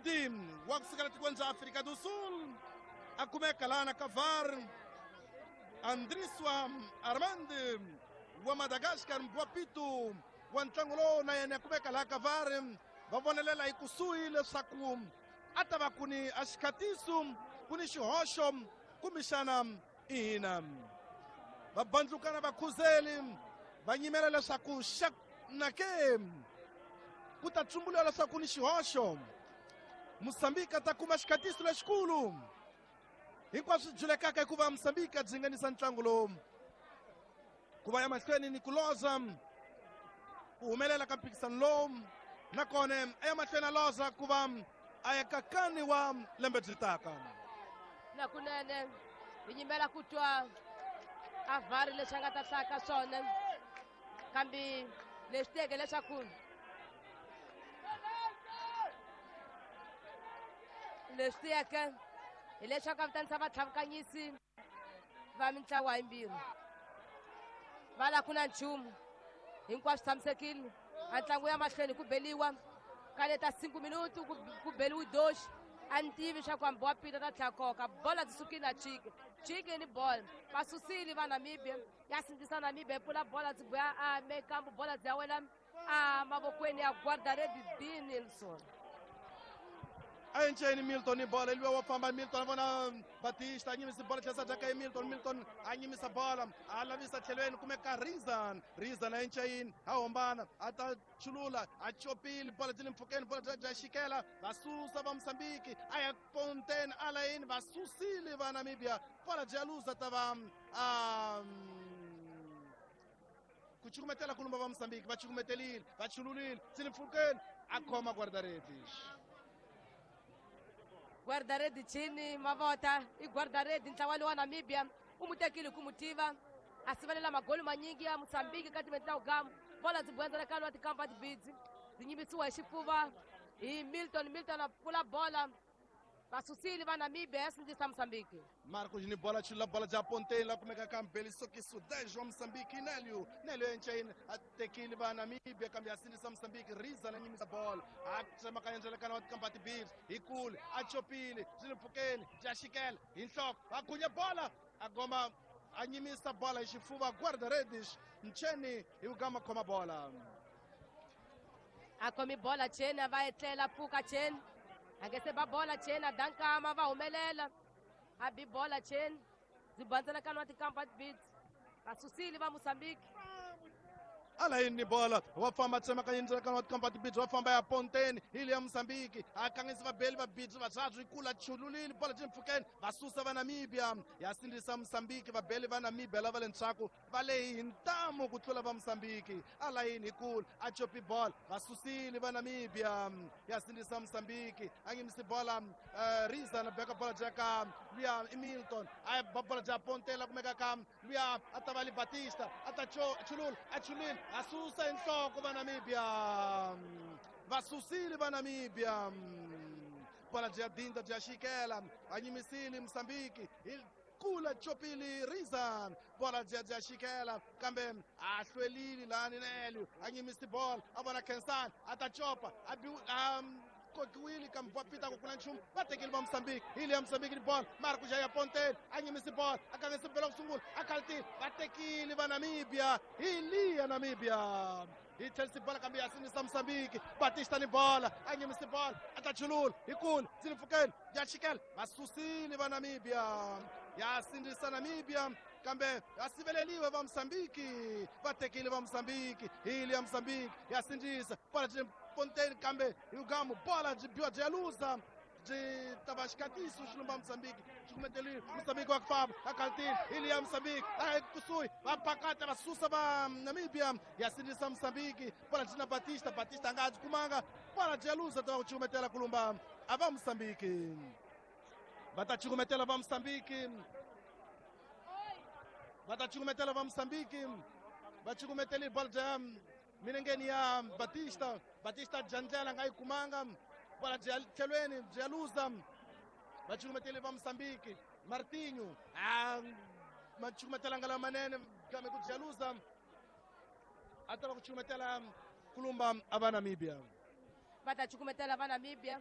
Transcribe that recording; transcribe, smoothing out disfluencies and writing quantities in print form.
Rudi wa kusukela tikweni bya Afrika do Sul a kumeka lana ka VAR. Andriswa Armand wa Madagascar Mbwapito wa ntlangu lowu na yena kumeka laha ka VAR. Va vonelela hi kusuhi leswaku a ta va ku ni a xikhatiso ku ni xihoxo kumbexana ihina. Va bandlukana vakhuzeli va nyimela leswaku xana ke ku ta tsumbuliwa leswaku ni xihoxo. Mosambiki a ta kuma xikhatiso lexikulu. Hinkwaswo swi julekaka hikuva Mosambiki a dzinganisa ntlangu lowu ku va ya mahlweni ni ku loza ku humelela ka mphikisano lowu, nakona a ya mahlweni a loza ku va a ya kakani wa lembe byi taka. Na kunene hi nyimela ku twa a VAR leswi a nga ta hlaya ka swona, kambe leswi teke leswaku leswi tiyeke hileswaku a vitanisa vatlhavukanyisi va mintlawa yimbirhi va la ku na nchumu, hinkwaswo tshamisekile. A ntlangu ya mahlweni ku beliwa ka leta 5 minutu ku beliwi doxi. A ni tivi swa ku hambi wa pita ta tlhela koka bola, byi sukile na chike chike ni bola va susile va Namibia, ya sindzisa Namibia yi pfula bola byi buya a mekambu, bola byi ya wela a mavokweni ya guardaredi D Nilsson. A enceni Milton ni bola liwa wa famba Milton a vona Batista a nyimisa bola tlhela dya ka Milton. Milton a nyimisa bola a lavisa tlhelweni kumeka Rizan. Rizan a enceni a hombana a ta chulula a chopile bola byi le mpfhukeni, bola bya xikela va susa va Mosambiki a ya Ponten a layini va susile va Namibia, bola byi ya luza ta va ku cukumetela kulumba va Mosambiki, va cukumetelile va chululile byi le mpfhukeni a khoma guardaredi. Guardaredi chini mavota i guardaredi ntlawa lowa Namibia u mu tekile ku mu tiva a sivelela magoli manyingi ya Mosambiki ka timeti ta ugamu. Bola byi buyandzela ka lwa tikampa tibidzi byi nyimisiwa hi xifuva hi Milton. Milton a pfula bola va susile va Namibia ya sindzisa Mosambiki. Marcos ni bola chula bola ja Ponteira la kumeka ka Mbeli Sokiso 10 wa Mosambiki. Nelio Nelio enceni a tekile va Namibia kambe a sindzisa Mosambiki. Riza na nyimisa bola a tsemakanya ndzelekana wa tikampa tibirhi hi kule a chopile byi le mpfhukeni bya xikela hi nhloko a gunya bola a goma a nyimisa bola hi xifuva guarda-redes Ncheni hi ku gama khoma bola. A khomi bola Cheni a va etlela pfuka Cheni a nge se ba bola Cheni a dankama va humelela a bi bola Cheni byi bandzela wa tikampa tibidzi va susile va Mosambiki. Alayini ni bola wa famba tsemakanya ndzelekano wa tikampa tibidzi wa famba ya Ponteni hi le ya Mosambiki a kangisa vabeli va bidzi vathathu hi kula chululile bola byi mpfhukeni va susa va Namibia ya sindzisa Mosambiki. Vabeli va Namibia lava le ndzhaku va lehi hi ntamu ku tlula va Mosambiki. Alayini hi kula a chopi bola va susile va Namibia ya sindzisa Mosambiki a ngimisi bola Riza na beka bola bya ka luya i Milton a ba bola bya Pontela kumeka ka luya a ta va li Batista a ta chulula a chulile a susa hi nhloko va Namibia va susile va Namibia bola bya dinda bya xikela a nyimisile Mosambiki hi kula chopili Rizan bola bya bya xikela kambe a hlwelile lani Nelio a nyimisi bola a vona Kensani a ta chopa a bi kokiwile kambe va pita ku kuna nchumu va tekile va Mosambiki hi le ya Mosambiki ni bola Marcos ya Pontel a nyimisi bola a kangisa bela ku sungula a khaltile va tekile va Namibia hi liya Namibia hi tlherisi bola kambe ya sindzisa Mosambiki. Batista ni bola a nyimisi bola a ta chulula hi kula byi le mpfhukeni ya xikela va susile va Namibia ya sindzisa Namibia kambe ya siveleliwe va Mosambiki va tekile va Mosambiki hi le ya Mosambiki ya sindzisa bola byi Ponteini kambe hi ugamu bola byi biwa byi ya luza byi ta va xikatiso xi lumba Mosambiki xi kumeteliwe Mosambiki wa ku famba a khaltile hi le ya Mosambiki a kusuhi va pakata va susa va Namibia ya sindzisa Mosambiki bola byi na Batista. Batista a nga ha byi kumanga bola byi ya luza ta va ku cukumetela ku lumba a va Mosambiki va ta cukumetela va Mosambiki va ta cukumetela va Mosambiki va cukumeteli bola bya milengeni ya Batista. Batista dya ndlela nga yi kumanga bola bya tlhelweni byi ya luza va cukumeteli va Mosambiki. Martinho a ma cukumetelanga lamanene kambe ku bya luza a ta va ku cukumetela kulumba a va Namibia va ta cukumetela va Namibia.